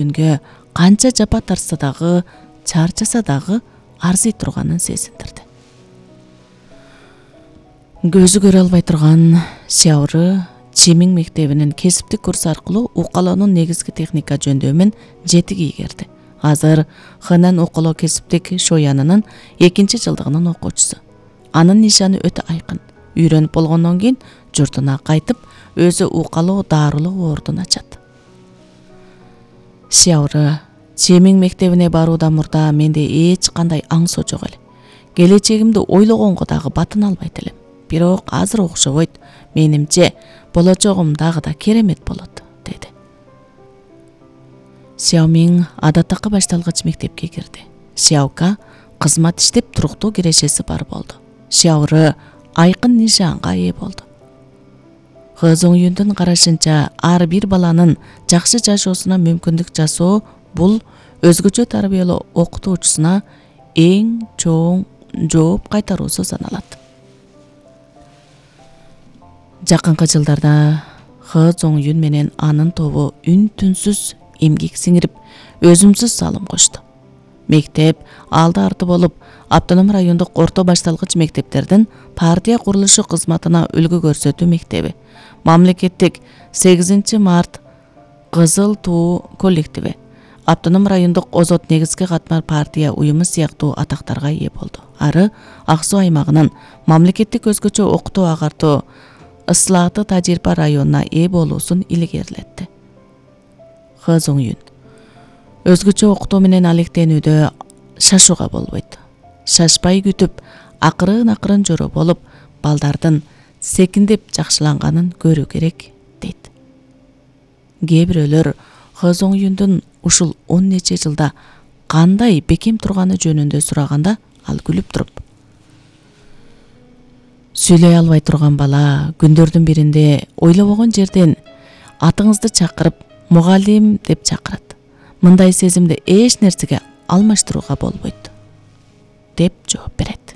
күнгө канча жапа тарса дагы, чарчаса дагы арзый турганын сезиндирди. Көзү көрө албай турган Сяуры Чимиң мектебинин кесиптик курсу аркылуу укалоонун негизги техника жөндөмүн жетик ийгерди. Азыр Хэнэн укалоо кесиптик шоянынын 2-жылдыгынын окуучусу. Анын нишаны өтө айкын. Үйрөнүп болгондон кийин журтуна кайтып, өзү укалоо дарылоо ордун ачат. Сяуры Чимиң мектебине баруудан мурда менде эч кандай аңсоо жок эле. Келечегимди ойлогонго дагы батына албайт элем. Бирок азыр окшобойт. Менимче болочогум дагы да керемет болот, деди. Сяомиң адаттакы башталгыч мектепке кирди. Сяока кызмат иштеп туруктуу кирешеси бар болду. Сяуры айкын нишанга ээ болду. Хэ Зоңюндун карашынча, ар бир баланын жакшы жашоосуна мүмкүндүк жасоо бул өзгөчө тарбиялоо окутуучусуна эң чоң жооп кайтаруусу саналат. Жакынкы жылдарда Хэ Зоңюн менен анын тобу үн-түнсүз эмгек сиңирип, өзүмсүз салым кошту. Мектеп алды-арты болуп, автоном райондук орто башталгыч мектептердин партия курулушу кызматына үлгү көрсөтүү мектеби, мамлекеттик 8 март Кызыл туу коллективи, автоном райондук озот негизги катмар партия уюму сыяктуу атактарга ээ болду. Ары Ак Суу аймагынын мамлекеттик өзгөчө окутуу агартуу Ыслааты Тажирпа районуна ээ болуусун илгерилетти. Хэ Зоңюн: өзгөчө окутуу менен алектенүүдө шашууга болбойт. Шашпай күтүп, акырын жоро болуп, балдардын секиндеп жакшыланганын көрүү керек, дейт. Кээ бирөөлөр Хэ Зоңюндун ушул 10 нече жылда кандай бекем турганы жөнүндө сураганда, ал күлүп туруп: сүйлөй албай турган бала күндөрдүн биринде ойлобогон жерден атыңызды чакырып, мугалим деп чакырат. Мындай сезимди эч нерсеге алмаштырууга болбойт, деп жооп берет.